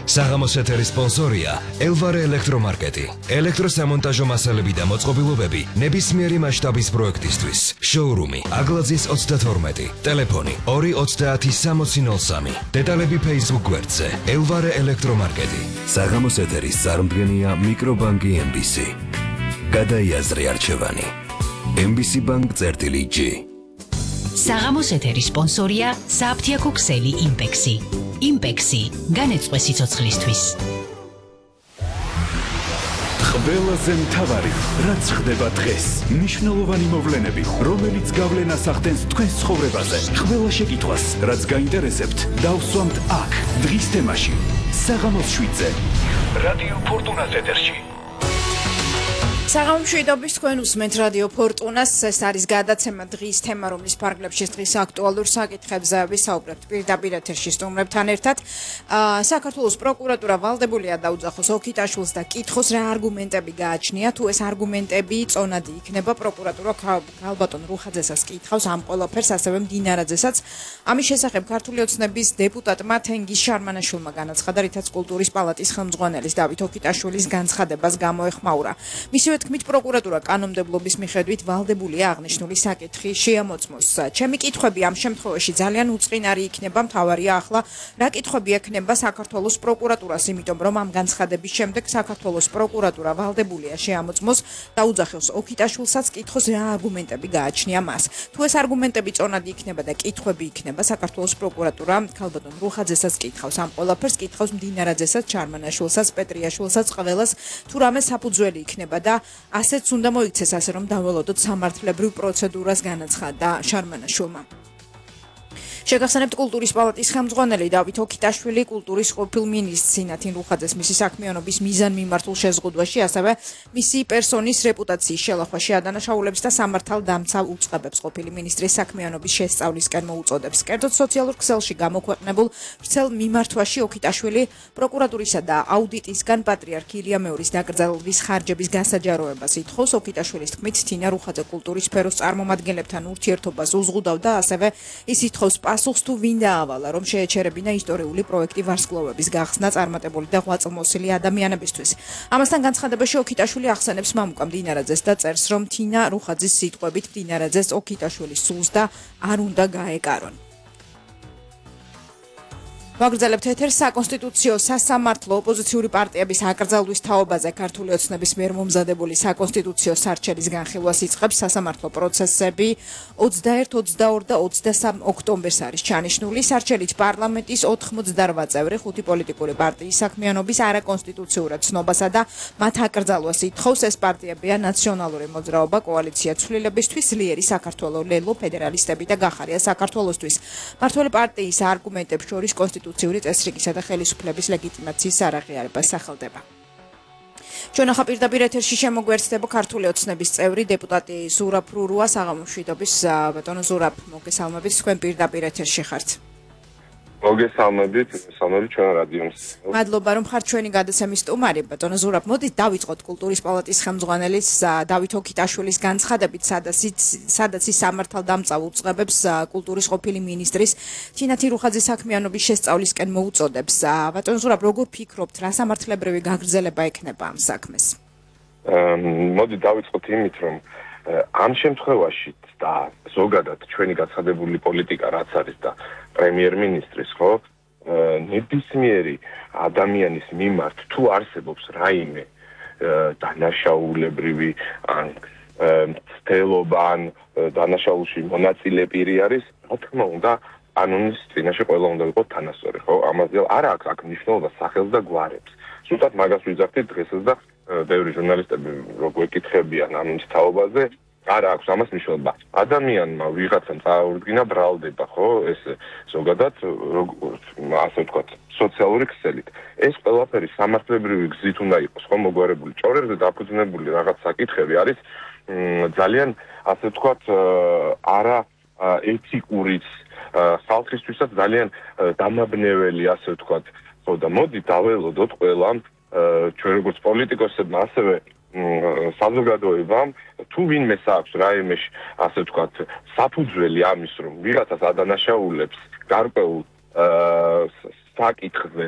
საღამოს ეთერის სპონსორია ელვარე ელექტრომარკეტი. ელექტროსამონტაჟო მასალები და მოწყობილობები ნებისმიერი მასშტაბის პროექტისთვის. შოურუმი აგლაძის 32. ტელეფონი 2306003. დეტალები Facebook გვერდზე ელვარე ელექტრომარკეტი. საღამოს ეთერის წარმდგენია მიკრობანკი MBC. გადაიაზრე არჩევანი. MBC Bank-G. საღამოს ეთერის სპონსორია საფთიაქო ქსელი იმპექსი. იმპექსი განეწყვე სიცოცხლისთვის. ყველაზე მთავარი, რაც ხდება დღეს, მნიშვნელოვანი მოვლენები, რომელიც გავლენას ახდენს თქვენს ცხოვრებაზე. ყველა შეკითხვას, რაც გაინტერესებთ, დავსვამთ აქ, დღის თემაში. საღამოს 7-ზე. რადიო ფორტუნას ეთერში. საღამოს 7-ობის თქვენ უსმენთ რადიო ფორტუნას. ეს არის გადაცემა დღის თემა, რომლის ფარგლებში დღის აქტუალურ საკითხებზე ვისაუბრებთ პირდაპირ ეთერში სტუმრებთან ერთად. საქართველოს პროკურატურა ვალდებულია დაუძახოს ოქიტაშვილს და კითხოს რა არგუმენტები გააჩნია. თუ ეს არგუმენტები წონადი იქნება, პროკურატურა ქალბატონ რუხაძესაც კითხავს ამ ყველაფერს, ასევე მდინარაძესაც. ამის შესახებ ქართული ოცნების დეპუტატმა თენგიზ შარმანაშვილმა განაცხადა, რითაც კულტურის პალატის ხელმძღვანელის დავით ოქიტაშვილის განცხადებას გამოეხმაურა. მისივე თქმით, პროკურატურა კანონმდებლობის მიხედვით ვალდებულია აღნიშნული საკითხი შეამოწმოს. ჩემი კითხვები ამ შემთხვევაში ძალიან უწყინარი იქნება, მთავარია ახლა რა კითხვები ექნება საქართველოს პროკურატურას, იმიტომ რომ ამ განცხადების შემდეგ საქართველოს პროკურატურა ვალდებულია შეამოწმოს და უძახოს ოქიტაშვილსაც კითხოს რა არგუმენტები გააჩნია მას. თუ ეს არგუმენტები წონადი იქნება და კითხვები იქნება, საქართველოს პროკურატურა ქალბატონ რუხაძესაც კითხავს ამ ყველაფერს, კითხავს მდინარაძესაც, ჩარმანაშვილსაც, პეტრიაშვილსაც, ყველას თუ რამე საფუძველი იქნება და ასეც უნდა მოიქცეს, ასე რომ დაველოდოთ სამართლებრივ პროცედურას, განაცხადა შარმანაშვილმა. შეგახსენებთ, კულტურის პალატის ხელმძღვანელი დავით ოქიტაშვილი კულტურის ყოფილ მინისტრს სინათინ რუხაძეს მისი საქმიანობის მიზანმიმართულ შეზღუდვაში, ასევე მისი პერსონის რეპუტაციის შელახვაში ადანაშაულებს და სამართალდამცავ უწყებებს ყოფილი ministris საქმიანობის შესწავლისკენ მოუწოდებს. კერძოდ სოციალურ ქსელში გამოქვეყნებულ ვრცელ მიმართვაში ოქიტაშვილი პროკურატურისა და აუდიტისგან პატრიარქ ილია მეორის დაკრძალვის ხარჯების გასაჯაროებას ითხოვს. ოქიტაშვილის თქმით, თინა რუხაძე კულტურის სფეროს წარმომადგენლებთან ურთიერთობას უზღუდავდა, ასევე ის ითხოვს პასუხს თუ ვინ დაავალა, რომ შეეჩერებინა ისტორიული პროექტი ვარსკვლავების გახსნა წარმატებული და ღვაწლმოსილი ადამიანებისთვის. ამასთან განცხადებაში ოქიტაშვილი ახსენებს მამუკა მდინარაძეს და წერს, რომ თინა რუხაძის სიტყვებით მდინარაძეს ოქიტაშვილის სულს და არ უნდა გაეკარონ. ვაგრძელებთ ეთერს. საკონსტიტუციო სასამართლო ოპოზიციური პარტიების აკრძალვის თაობაზე ქართული ოცნების მიერ მომზადებული საკონსტიტუციო სარჩელის განხილვას იწყებს. სასამართლო პროცესები 21, 22 და 23 ოქტომბერს არის ჩანიშნული. სარჩელით პარლამენტის 88 წევრი 5 პოლიტიკური პარტიის საქმიანობის არაკონსტიტუციურად ცნობასა და მათ აკრძალვას ითხოვს. ეს პარტიებია ნაციონალური მოძრაობა, კოალიცია ცვლილებისთვის, ძლიერი საქართველო, ლელო, ფედერალისტები და გახარია საქართველოსთვის. მართველი პარტიის არგუმენტებს შორის კონსტიტუციური წესრიგისა და ხელისუფლების ლეგიტიმაციის არაღიარებას სახელდება. ჩვენ ახლა პირდაპირ ეთერში შემოგვერთდება ქართული ოცნების წევრი დეპუტატი ზურაბ რურუა. საღამოს 7-ობის ბატონო ზურაბ, მოგესალმებით, თქვენ პირდაპირ ეთერში ხართ. მოგესალმებით, ჩვენ რადიოს. მადლობა, რომ ხართ ჩვენი გადაცემის სტუმარი. ბატონო ზურაბ, მოდით დავიწყოთ კულტურის პალატის ხელმძღვანელის დავით ოქიტაშვილის განცხადებით, სადაც ის სამართალდამცავ უწყებებს კულტურის ყოფილი მინისტრის თინათინ რუხაძის საქმიანობის შესწავლისკენ მოუწოდებს. ბატონო ზურაბ, როგორ ფიქრობთ, რა სამართლებრივი გაგრძელება ექნება ამ საქმეს? მოდით დავიწყოთ იმით, რომ ამ შემთხვევაში და ზოგადად ჩვენი გაცხადებული პოლიტიკა რაც არის და პრემიერ-მინისტრის, ხო, ნებისმიერი ადამიანის მიმართ თუ არსებობს რაიმე დანაშაულებრივი ან მცდელობა ან დანაშაულში მონაწილე პირი არის, რა თქმა უნდა, კანონის წინაშე ყველა უნდა იყოს თანასწორი, ხო? ამაზე არ აქვს აქ მნიშვნელობა სახელს და გვარებს. სულაც მაგას ვიძახდით დღესაც და ბევრი ჟურნალისტები როგორ ეკითხებიან ამ თაობაზე, არ აქვს ამას მნიშვნელობა. ადამიანმა ვიღაცამ წააურდგინა ბრალდება, ხო? ეს ზოგადად ასე ვთქვათ, სოციალური ქსელით. ეს ყველაფერი სამართლებრივი გზით უნდა იყოს, ხო, მოგვარებული. ჭორებზე დაფუძნებული რაღაც საკითხები არის ძალიან, ასე ვთქვათ, არა ეთიკურიც, ხალხისთვისაც ძალიან დამაბნეველი, ასე ვთქვათ. ხო, და მოდი დაველოდოთ ყველამ, ჩვენ როგორც პოლიტიკოსებმა, ასევე საზოგადოებამ, თუ ვინმე აქვს რაიმე, ასე ვთქვათ, საფუძველი ამის, რომ ვიღაცას ადანაშაულებს გარკვეულ საკითხზე